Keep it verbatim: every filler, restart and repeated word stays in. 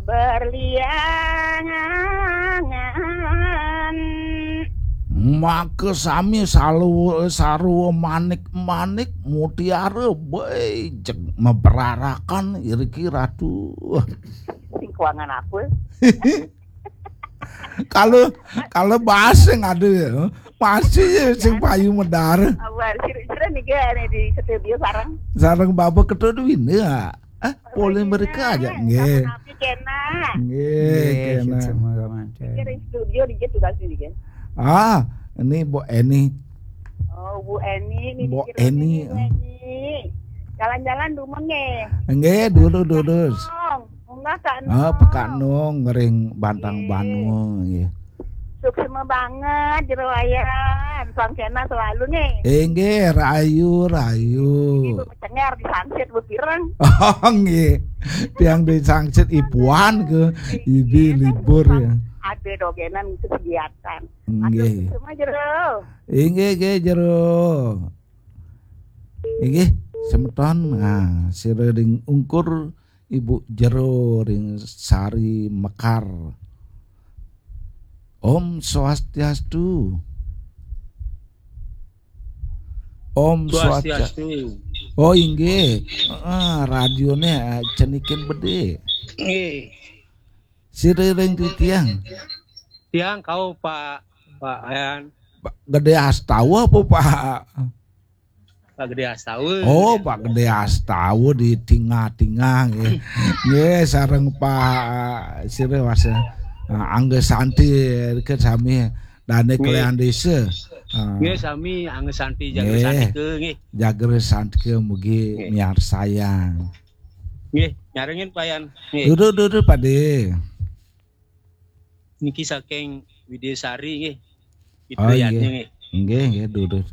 Berliangan. Maka sami salu-, sarwa manik-manik mutiara, bejeg meberarakan iriki Ratu. Sing kuangan apa? Kalau, kalau bahas sing ada ya, masih ya sing payu medar. Awal sira-sira nih, gak nih, di studio sareng. Sareng Bapak Ketua Dwi ini ya. Eh, boleh mereka aja. Nggih. Sami kena. Nggih, nggih, kena. Semoga lancar. Kira studio di tugas ini kan. Ah, ini Bu Eni. Oh, Bu Eni, ini Bu Eni. Bu Eni. Jalan-jalan dulu nggih. Nggih, dulu, dulu. Enggak, Kak Nong. Ah, Pak Nong ngering Bantang Banua nggih. Suksma banget Jero Wayan. Sangkena selalu nih. Inggih, rahayu, rahayu. Ini Bu Cengar di Sangsit, Bu Pireng. Oh, nggih. Tiang di Sangsit ipuan ke ibi libur ya. Ada dogenan kegiatan. Nggih. Semua Jero. Inggih, nggih, Jero. Inggih, semeton. Nah, sira ring ungkur Ibu Jero ring Sari Mekar. Om Swastiastu. Om Swastia-, Swastiastu. Oh, inggih. Heeh, radione, eh, cenikin bede. Nggih. Sira ring titiang. Tiang kau Pak, Pak Ayan. Pak Gede Astawa apa Pak? Pak Gede Astawa. Oh, Pak Gede Astawa di tingah-tingah nggih. Nggih, sareng Pak sira wasa. Nah, Angga Santi ke sami dane nggih. Kalian desa. Ah. Nggih, sami Angga Santi Jagra nggih. Santika nggih. Jagra Santika mugi nggih. Miarsayang. Nggih, nyarengin Pak Yan. Nggih. Duduk, duduk, Pak De. Niki saking Widyasari nggih. Oh, Widyayani iya. Nggih. Nggih, nggih, duduk.